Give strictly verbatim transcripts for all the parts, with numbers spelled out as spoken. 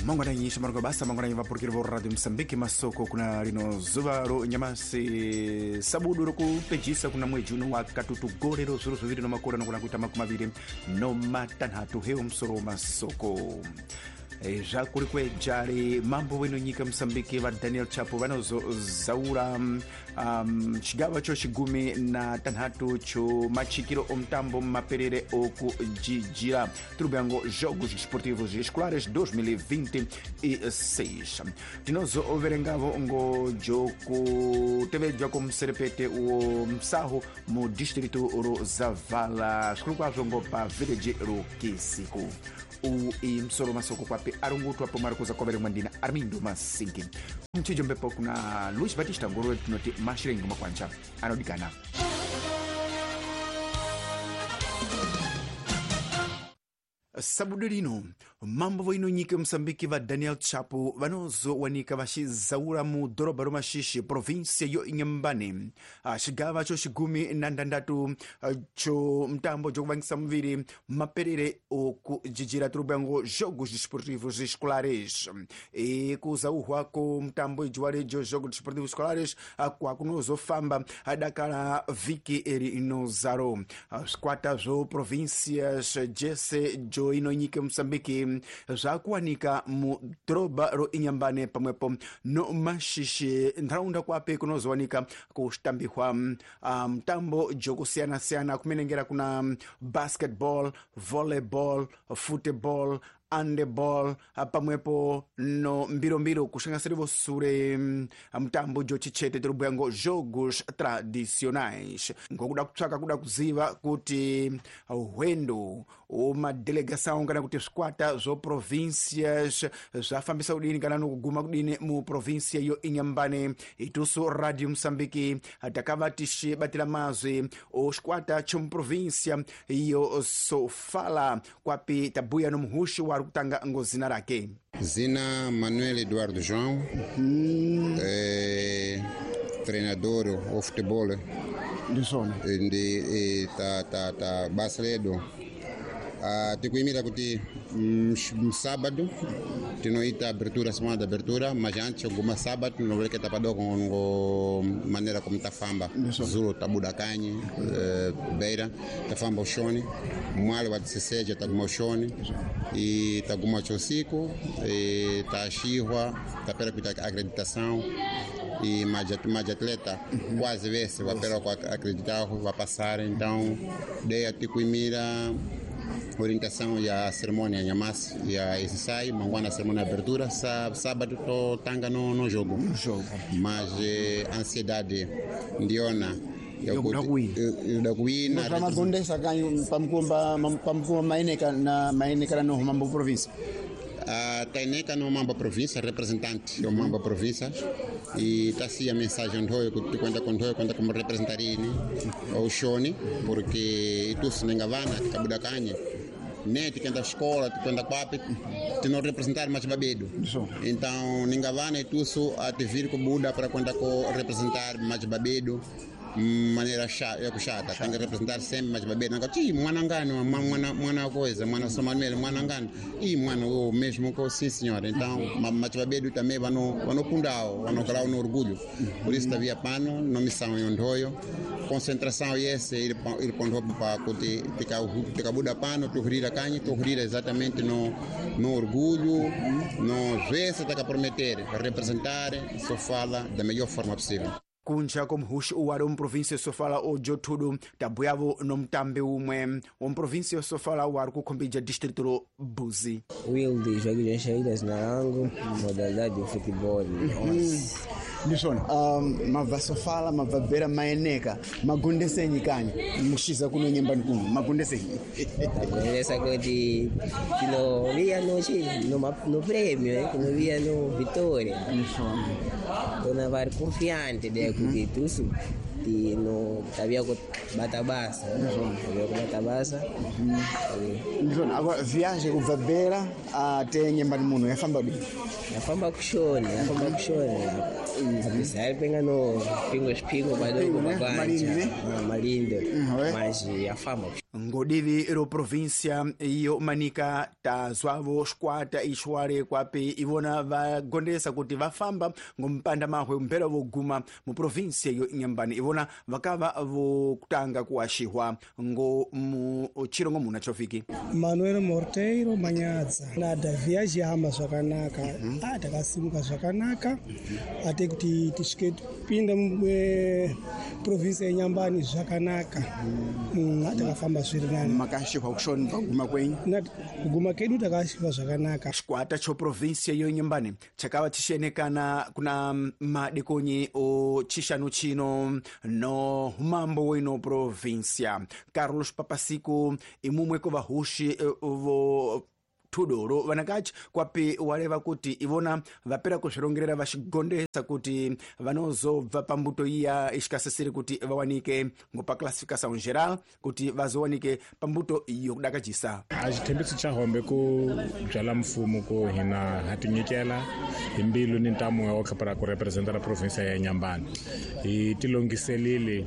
Mangwananyi shamarunga basa mangwananyi vapurukiri vo Radio Mosambiki masoko kuna lino zuva ro nyamasi sabudu rokupejisa kuna mwedzi uno wa katutu gore ro zviro zviviri no makore anogona kuita makumi maviri no matanhatu. Hewo musoro masoko zvakuri kwejari mambo weno nyika Mosambiki va Daniel Chapo vanozozaura um, chigava cho chigumi na tanhatu cho machikiro omutambo maperere okujijira turubango Jogos Esportivos Escolares dois mil e vinte e seis. Tinozoverengavo ngo jokutevedzwa komuserepete wo msaho mu distrito ro Zavala zvikuru kwazvo ngo pa village ro Kisiku. U imsoro masoko kwapi arungutwa po marikuza kwavere mwandina Armindo Masingi mchijo mbepo kuna Luis Batista Ngoro tinoti mashirengi makwancha anodikana. Sabudu lino mambo voino nyika Mosambiki va Daniel Chapo vanozowanika vaxizaura mu doroba ro Maxixe província yo Inhambane xigava xo xigumi na ndandatu xo mtambo jokuvangisa muviri maperere okujijira turubango Jogos Desportivos Escolares. E kuzauhwa ko mtambo ijuwalejo Jogos Desportivos Escolares kwakunozofamba dakala viki eri inozaro swikwata zvo províncias jese jo ino nyika Mosambiki zvakuwanika mu doroba ro Inhambane pamwepo no Maxixe ntharaunda kwape kunozowanika kuxitambihwa mtambo um, jokusiyana-siyana kumenengera kuna basketball, volleyball, football, handball pamwepo no mbirombiro kuxangasirivo sure mtambo jo chichete tirubwango Jogos Tradicionais. Ngokuda kutsvaka kuda kuziva kuti hwendo umadelegação kana kuti swikwata zvo províncias zvafambisa kudini kana nokuguma kudini mu província yo Inhambane. Itusu Radio Mosambiki takava tixibatira mazwi o xikwata chomuprovíncia yo Sofala kwapi tabuya no muhuxi wa kutanga ngo zina rake. Zina Manuel Eduardo João, uhum. é, treinador o futebol ndi ta ta ta basa ledo. Ah, tikuimira kuti sábado tinoita abertura, semana de abertura, mas antes alguma sábado não que tapado com maneira como tafamba Zulu tabuda kanyi eh, beira tafamba oshoni mwale wa dezesseis taguma oshoni e taguma chosico e tashihwa tapera kuita acreditação e mais mais atleta quase vez vai pela acreditar vai passar. Então daí a tikuimira orientação e a cerimônia Nhamas e a ensaio, mangwana a cerimônia de abertura, sábado tô tanga no no jogo. No jogo. Mas eh, ansiedade ndiona eu da kuina. Mas magondesa kanyu pamkumba pamkumba maineka na maineka no Mambo província. A Taineka no Mamba província, representante do Mamba província, e tá assim a mensagem do que conta com do conta como representarini o Shoni, porque tu se nengavana kabuda kanye né te canta escola te canta papi te não representar mais babedo. Então nengavana e tu a te vir com Buda para conta com representar mais babedo maneira chata, eu chata, tem que representar sempre mais bebê, não que mwana ngano, mwana mwana coisa, mwana São Manuel, mwana ngano, e mwana o mesmo que sim senhora. Então, mas bebê também vai no vai no pundao, vai no grau no orgulho. Por isso havia pano, não missão em ondoio, concentração e esse ir ir pondo para que te te cabuda pano, tu rira canha, tu rira exatamente no no orgulho, no vez tá que prometer representar, só fala da melhor forma possível. Kunja komuhuxi uwali omuprovíncia Sofala ojo thudu tabuyavo nomutambi umwe omuprovíncia Sofala wari kukhombija distrito ro Buzi. Wilde Joaquim Shaida zina langu, modalidade de futebol. Ndisona um, mabva Sofala mabva Beira maeneka magondesenyi kanyi mushiza kuno nyembani kuno magondesenyi. Magondesa kuti tinovia no chi no, no prêmio, eh, tinovia no vitória. Ndisona tona vari confiante de kuti tusu tino tavia kubata basa, tavia kubata basa. Ndisona agora viagem kubva Beira até nyembani muno yafamba kudini? Yafamba kushoni, yafamba kushoni. Apesar penga no pingo espingo padoko Malinde, malinde, mas yafamba. Ngodivi ro província iyo Manica tazwavo xikwata ixwale kwapi ivona vagondesa kuti vafamba ngompanda mahwe mbera voguma mu província yo Inhambane ivona vakava vokutanga kuashihwa ngo mu chirongo muna chofiki. Manuel Morteiro Manyadza nada viagem hamba zvakanaka mm -hmm. Takasimuka zvakanaka ate kuti tisvike tipinde mu província yeNyambani zvakanaka mm -hmm. Takafamba zviri nani makashihwa kushoni paguma kwenyu kuguma kedu takashihwa zvakanaka. Xikwata cho província yo Inhambane chakava chixenekana kuna madikonyi o chixanu chino no humambo wino província Carlos Papasiku imumwe ko vahuxi vo thudoro vanakachi kwapi waleva kuti ivona vapera kuzvirongerera vachigondesa kuti vanozobva pambuto iya ixikasisiri kuti vawanike ngopa classificação geral kuti vazowanike pambuto yokudakajisa. A xithembiso xa hombe ku byala mfumo ku hina ha tinyikela hi mbilu ni ntamu wa khapara ku representa la province ya Inhambane hi tilongiselile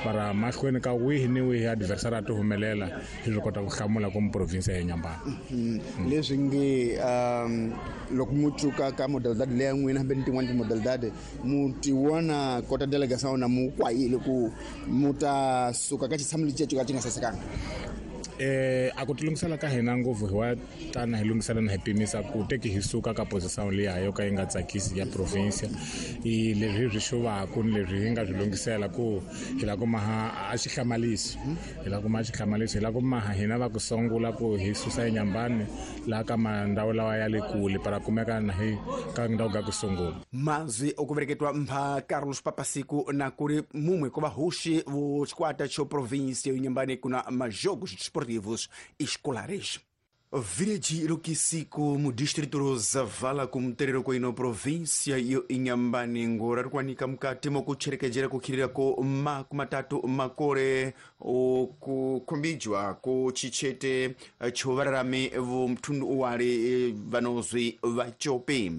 para mahlweni ka wihi ni wihi adversary a ti humelela hi swi kota ku hlamula ku province ya Inhambane. Leswi nge um loko mu tsuka ka modalidade leya n'wina hambi ni tin'wana timodalidade mu ti vona kota delegação na mu kwayile ku mu ta suka ka xitshamo lexi ka xi nga sasekanga. Eh a ku tilungisela ka hina ngopfu hi wa tana hi lunghisela na hi pimisa ku teki hi suka ka position liya yo ka yi nga tsakisi ya province i leswi hi swi xuvaku ni leswi hi nga swi lunghisela ku hi la ku maha a xi hlamalisi hi la ku maha xi hlamalisi hi la ku maha hina va ku sungula ku hi susa eNyambani laha ka mandhawu lawa ya le kule para kumeka na hi ka ndhawu ka ku sungula. Mazwi okuvereketwa mpha Carlos Papasiku na kuri mumwe ko vahuxi vo xikwata xo province yo Inhambane kuna majogos esportivos escolares. Village Rukisiku mu distrito ro Zavala ku muterero koino província yo Inhambane ngora rikwanika mukati mokucherekejera kukhirira ko makumatatu makore okukhombijwa ko chichete chovararami vo mthundu uwali vanozwi vachope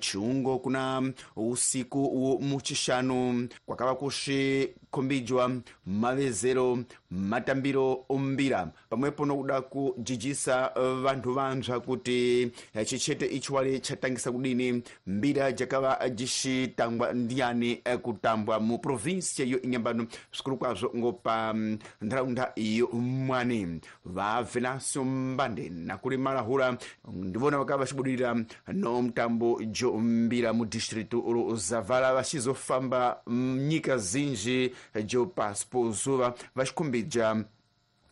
chiungo kuna usiku wo muchixanu kwakava kuxikhombijwa mavezero matambiro ombira pamwepo nokuda kujijisa vantu vanzva kuti chichete ichiwale chatangisa kudini mbira jakava jixitangwa ndiyani kutambwa mu província yo Inhambane zvikuru kwazvo ngopa nharaunda yo Mwani. Va Venancio Mbande nakuri Malahula ndivona vakava vachibudirira no mutambo jo mbira mu distrito ro Zavala vachizofamba nyika zinji jo pasi po zuva vachikhombija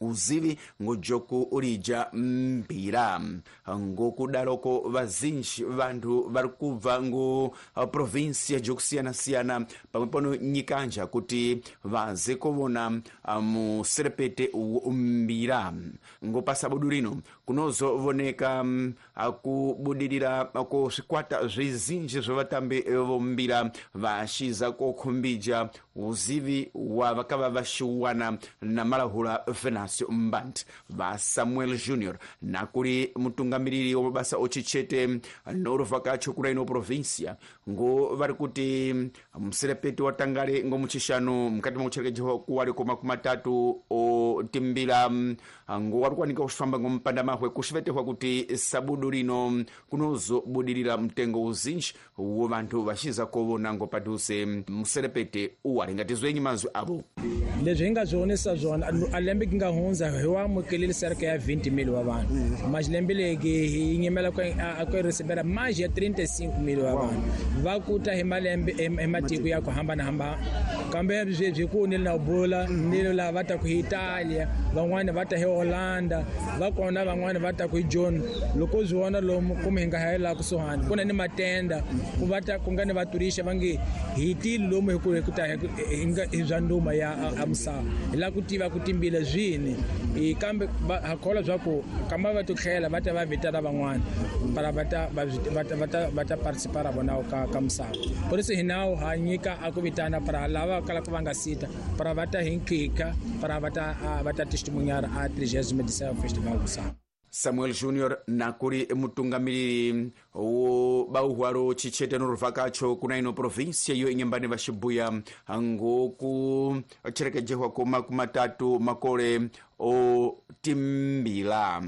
uzivi ngojoku ulija mbira. Ngokudaroko vazinji vantu vari kubva ngo provinsia jokusiyana-siyana pamwepo no nyikanja kuti vaze kovona muserepete mbira. Ngopasabudu rino kunozovoneka kubudirira ko zvikwata zvizinji zvevatambi vombira vachiza kokhombija uzivi wa vakava vaxiwana na Malahula Venancio Mbandi va Samuel Junior nakuri mutungamiriri wa mabasa ochichete noruvakacho kuna ino província ngo vari kuti muserepeti watangale ngo muchixanu mukati mwakucherekejewa kuwali ko makumi matatu otimbira ngo wari kuwanika kuxifamba ngo mpanda mahwe kuxivetehwa kuti sabudu rino kunozobudirira mtengo uzinji wo vanthu vaxiza kovona ngo padhuze muserepete uwali ngatizwenyi mazwi avo. Leswi hi nga swi vonisa swona a lembe ki nga hundza hi wa amukelile sereke ya twenty mil wa vanhu mas lembe leki hi nyimela ku ku recebera mais ya thirty-five mil wa vanhu va kuta hi malembe hi matiko ya ku hambanahambana kambe sweswi ku ni na bula ni lava va ta ku hi Italia van'wani va ta hi Holanda va kona van'wani va ta ku hi John loko swi vona lomu kumbe hi nga hayela kusuhani ku na ni matenda ku va ta ku nga ni vaturisha va nge hi tile lomu hi ku hi ku ta hi nga hi bya nduma ya a misava hi lava ku tiva ku timbila zwini kambe ha kholwa swa ku kamba va titlhela va ta va vitana van'wana para va ta va ta va ta va ta participar vona ka ka misava por isso hi nawu ha nyika a ku vitana para lava kalaka va nga sita para va ta hi nkika para va ta va ta testemunhar a trigésima edição festival misava. Samuel Junior nakuri mutungamiriri wo bauhwaro chichete noruvakacho kuna ino província yo Inhambane vaxibuya ngoku cherekejehwa ko makumi matatu makore o timbila.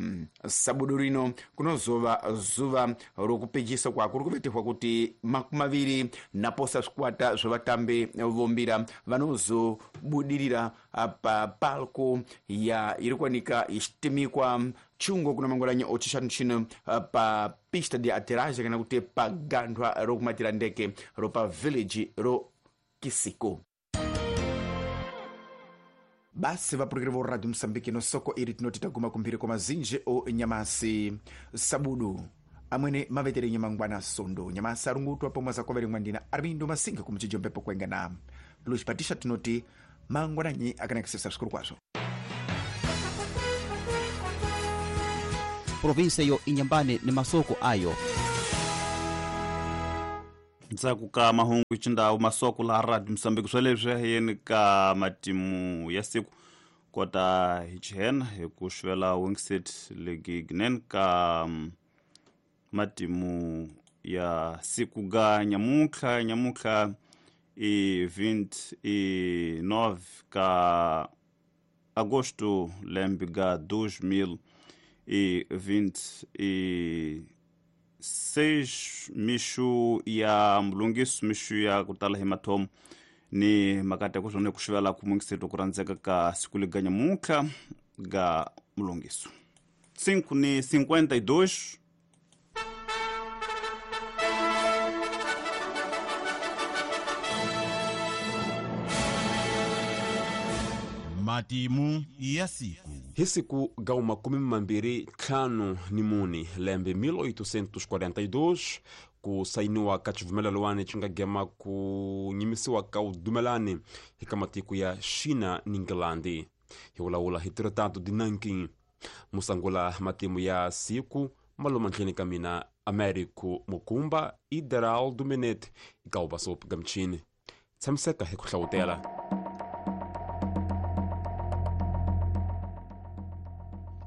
Sabudu rino kunozova zuva rokupejisa kwako rikuvetehwa kuti makumi maviri naposa zvikwata zvevatambi vombira vanozobudirira pa palco ya iri kuwanika ichitimikwa chungo kuna mangwanani ochishanu chino pa pista de aterragem kana kuti pa gandhwa rokumatira ndeke ropa village ro Kisiko. Basi vapurukiri vo Radio Mosambiki no soko iri tinoti taguma kumphiri kwa mazinji o nyamasi sabudu amwene mavetere nyamangwana sondo nyamasi arungutwa pomwe zakovere mwandina Armindo Masinga kumuchijo mpepo kuenga na Luis Patisha tinoti mangwananyi akanakisisa sikuru kwazvo. Provinsia yo Inhambane ni masoko ayo. Ndzhaku ka mahungu xindhawu masoko la Radio Mosambiki swoleswi yeni ka matimu ya siku kota hi chihena hi ku xivela Wingset Legignen ka matimu ya siku ga nyamutlha nyamutlha i vinte e nove ka agosto lembe ga dois mil e vinte e seis mixu ya mulungiso mixu ya ku tala hi mathomo ni makati ya ku swona ku xivela ku mungiseto ku rhandzeka ka siku lega nyamutlha ga mulungiso cinco ni cinquenta e dois. Matimu ya siku. Hi siku ga makumi mambirhi ntlhanu ni mune lembe mil oitocentos quarenta e dois ku sayiniwa ka xivumelelwani xi nga gema ku nyimisiwa ka vudumelani hi ka matiko ya China ni England. Hi vulavula hi Tratado de Nanking. Musangula matimu ya siku maloma ndleni ka mina Américo Mukumba i Deraldo Menete eka ubasopi ga mchini. Tshamiseka hi ku hlawutela.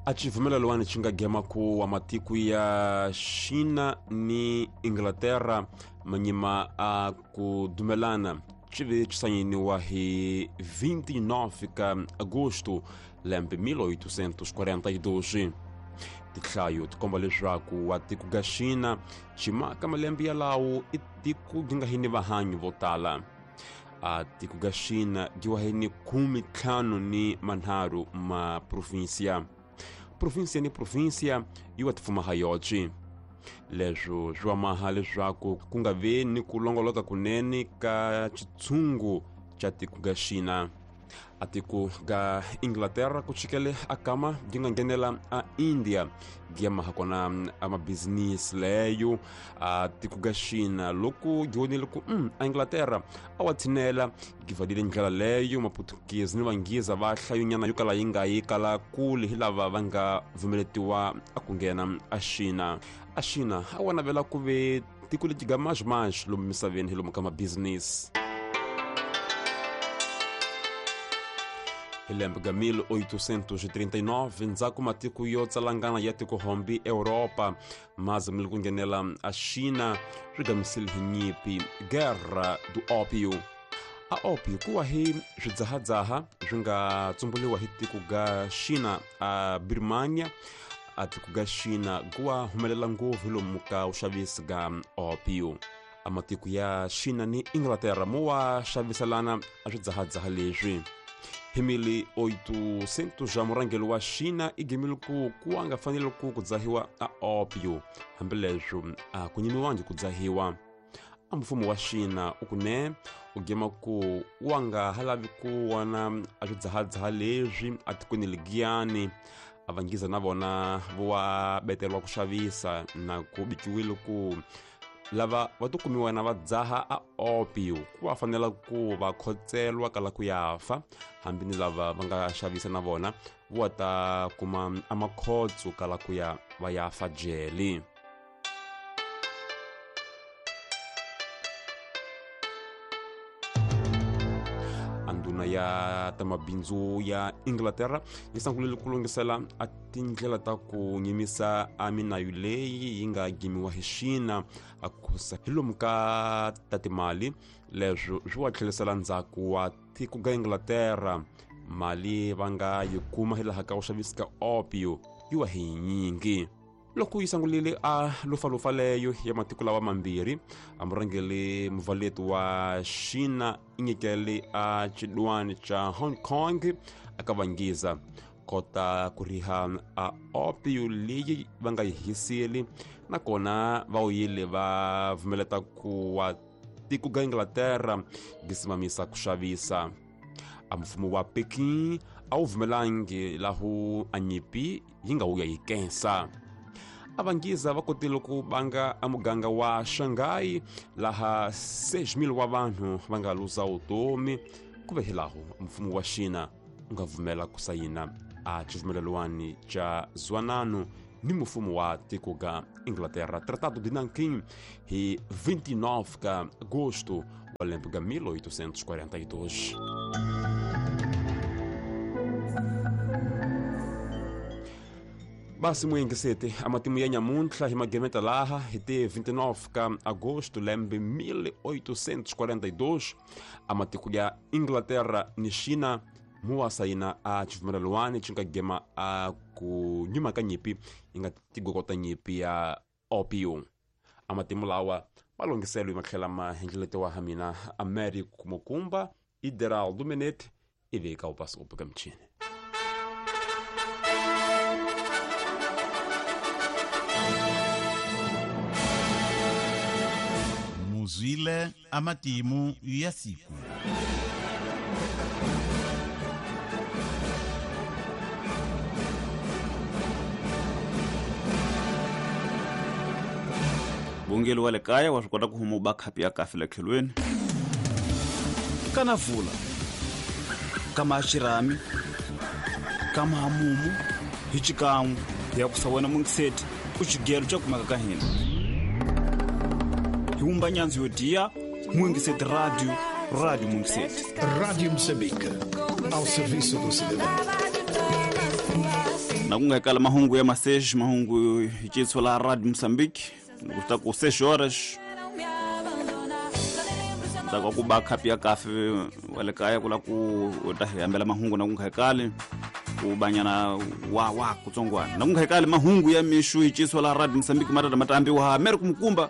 A xivumelelwani xi nga gema ku wa matiko ya China ni Inglaterra manyima a ku dumelana xi ve xi sayiniwa hi vinte e nove ka agosto lembe mil oitocentos quarenta e dois. Tinhlayo ti komba leswaku wa tiko ga China xi maka malembe yalawo i tiko ri nga hi ni vahanyi vo tala. A tiko ga China dyiwa hi ni khume ntlhanu ni manharhu ma provinsia. Provinsia ni provinsia yi wa tifuma ha yoxe. Leswo swi wa maha leswaku ku nga vi ni ku longoloka kunene ka xitshungu xa tiko ga China. A tiko ga Inglaterra ku chikele a kama byi nga nghenela a India byi maha kona a mabizinisi leyo. A tiko ga China loko byi vonile ku mm, a Inglaterra a wa tshinela byi valile ndlela leyo Maputukezi ni Vanghiza va hlayonyana yo kala yi nga yi kala kule hi lava va nga pfumeletiwa a ku nghena a China. A China a wa navela ku ve tiko leti ga mazhimaxi lomu misaveni hi lomu ka mabizinisi. Hi lembe ga mil oitocentos e trinta e nove ndzhaku matiko yo tsalangana ya tikohombi Europa ma zamile ku nghenela a China swi gamisile hi nyimpi Guerra do Ópio. A ópio ku wa hi swidzahadzaha swi nga tsumbuliwa hi tiko ga China a Birmania. A tiko ga China ku wa humelela ngopfu hi lomu ka vuxavisi ga ópio. A matiko ya China ni Inglaterra mo wa xaviselana a swidzahadzaha leswi. Hi mil oitocentos ja murhangeri wa China i gemile ku ku a nga fanele ku ku dzahiwa a ópio hambileswo a ku nyimiwangi ku dzahiwa. A mfumo wa China u ku ne u gema ku wa nga ha lavi ku vona a swidzahadzaha leswi a tikweni ligiyani. A Vanghiza na vona vo wa beteriwa ku xavisa na ku bikiwile ku lava va to kumiwa na va dzaha a ópio ku va fanela ku va khotselwa kala ku ya fa hambi ni lava va nga xavisa na vona vo ta kuma a makhotso kala ku ya va ya fa jele. Anduna ya ta mabindzu ya Inglaterra yi sungulile ku lunghisela a tindlela ta ku nyimisa a minayu leyi yi nga gimiwa hi China a khusa hi lomu ka ta timali. Leswo swi wa tlhelisela ndzhaku wa tiko ga Inglaterra Mali va nga yi kuma hilaha ka ku xavisa ka opio yi wa hi nyingi. Loko yi sangulile a lufalufa leyo ya matiko lawa mambirhi, a murhangeri muvaleti wa Xina i nyikele a xidwani xa Hong Kong aka vangiza kota ku riha a opio leyi va nga yi hiseli, nakona va wuyile va pfumeleta ku wa tiko ga Inglaterra gisimamisa ku xavisa. A mfumo wa Peking a wu pfumelangi lahu a nyimpi yi nga wuya yi kensa. A vangiza va kotile ku banga a muganga wa Shanghai laha seis mil wa vanhu va nga luza vutomi, ku ve hilaho mfumo wa Xina wu nga pfumela ku sayina a xivumelelwani xa Zwanano ni mfumo wa tiko ga Inglaterra, Tratado de Nanking, hi vinte e nove ka agosto wa lembe ga mil oitocentos e quarenta e dois. Basi muyengesete amatimu ya nyamuntlha hi magemeta laha hi te vinte e nove ka agosto lembe mil oitocentos e quarenta e dois, amatiko ya Inglaterra ni Xina muwa sayina a xivumelelwani xi nga gema a ku nyuma ka nyimpi yi nga tigokota nyimpi ya opio. Amatimu lawa ma longhiselwe matlhela ma hendleletiwa ha mina Américo Mukumba Ideraldo Menete ivi ka upasi upuka michini. Muzwile amatimu ya siku. Bungeli wa le kaya wa swi kota ku huma u ba khapi ya kafe le tlhelweni. Kana vula kama xirhami kama hamumu hi xikan'we ya ku sa wena mungiseti u xigelo xa kumeka ka hina. Hi wumba nyandzu yo diya Mungiseti Radio, Radio Mungiseti. Radio Moçambique, ao serviço do cidadão. Na ku nga kala mahungu ya maseji, mahungu hi xitswa la Radio Moçambique. Kuta ku seis horas ta ku ba khapi ya kafe wa le kaya ku la ku ta hi hambela mahungu na ku nga kali ku banyana wa wa kutsongwana na ku nga kali mahungu ya mixu hi xitswa la Radio Moçambique matata matambi wa Américo Mukumba.